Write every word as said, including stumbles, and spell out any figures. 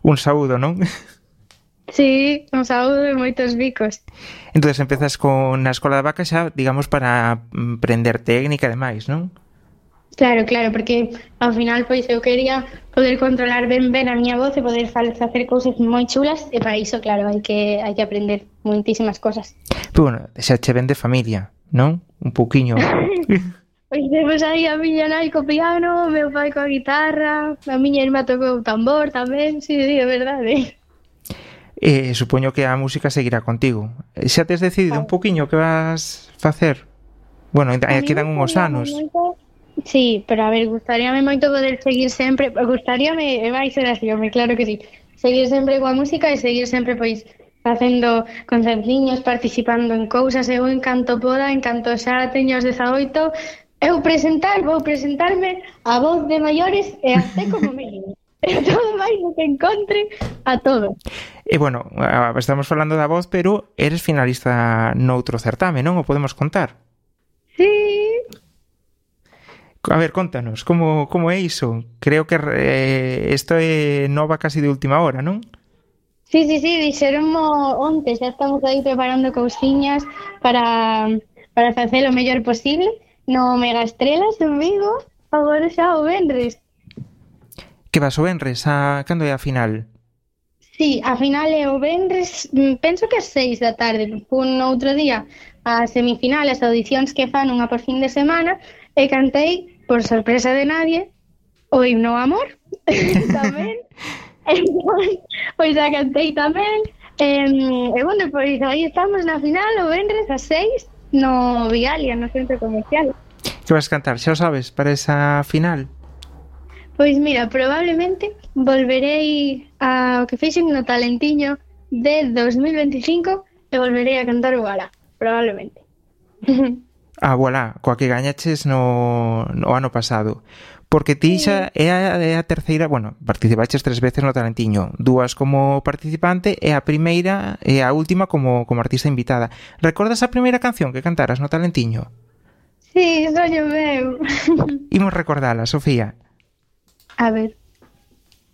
Un saúdo, non? Sí, un saúdo e moitos bicos. Entonces empezas con na Escola da Vaca xa, digamos, para mm, aprender técnica e demais, non? Claro, claro, porque ao final pois eu quería poder controlar ben ben a miña voz e poder fa- facer cousas moi chulas e para iso, claro, hai que hai que aprender moitísimas cosas. Pero bueno, xa che ven de familia, non? Un pouquiño. Pois temos aí a miña nai co piano, o meu pai coa guitarra, a miña irmá tocou o tambor tamén, si, sí, é verdade. E supoño que a música seguirá contigo. Xa tes decidido un pouquiño que vas facer? Bueno, A ainda mí quedan uns gustaríame anos. moito. Sí, pero a ver, gustaríame moito poder seguir sempre, gustaríame, e vai ser así, home, claro que sí. Seguir sempre coa música e seguir sempre pois facendo concertiños, participando en cousas, eu en canto poda, en canto xa teño os dezaoito, eu presentar, vou presentarme a voz de maiores e até como mínimo. E todo máis o que encontre a todo. E bueno, estamos falando da voz, pero eres finalista noutro certame, non? O podemos contar? Sí. A ver, contanos, como, como é iso? Creo que eh, isto é nova casi de última hora, non? Sí, sí, sí, dixeronmo onte, xa estamos aí preparando cousiñas para, para facer o mellor posible no Mega Estrelas en Vigo, agora xa o venres. Que vas o venres? A... Cando é a final? Sí, a final é o venres, mm, penso que as seis da tarde, un outro día a semifinal, as audicións que fan unha por fin de semana, e cantei, por sorpresa de nadie, o himno ao amor, tamén. Entón, pois a cantei tamén. E, e bueno, pois aí estamos na final, o venres a seis, no Vigalia, no centro comercial. Que vas cantar, xa o sabes, para esa final? Pois mira, probablemente volverei ao que fixen no Talentiño de dos mil veinticinco e volverei a cantar o Gala, probablemente. Ah, voilà, coa que gañaches no, no ano pasado. Porque ti xa é a, é a terceira, bueno, participaches tres veces no Talentiño, dúas como participante e a primeira e a última como, como artista invitada. Recordas a primeira canción que cantaras no Talentiño? Sí, soño meu. Imos recordala, Sofía. A ver.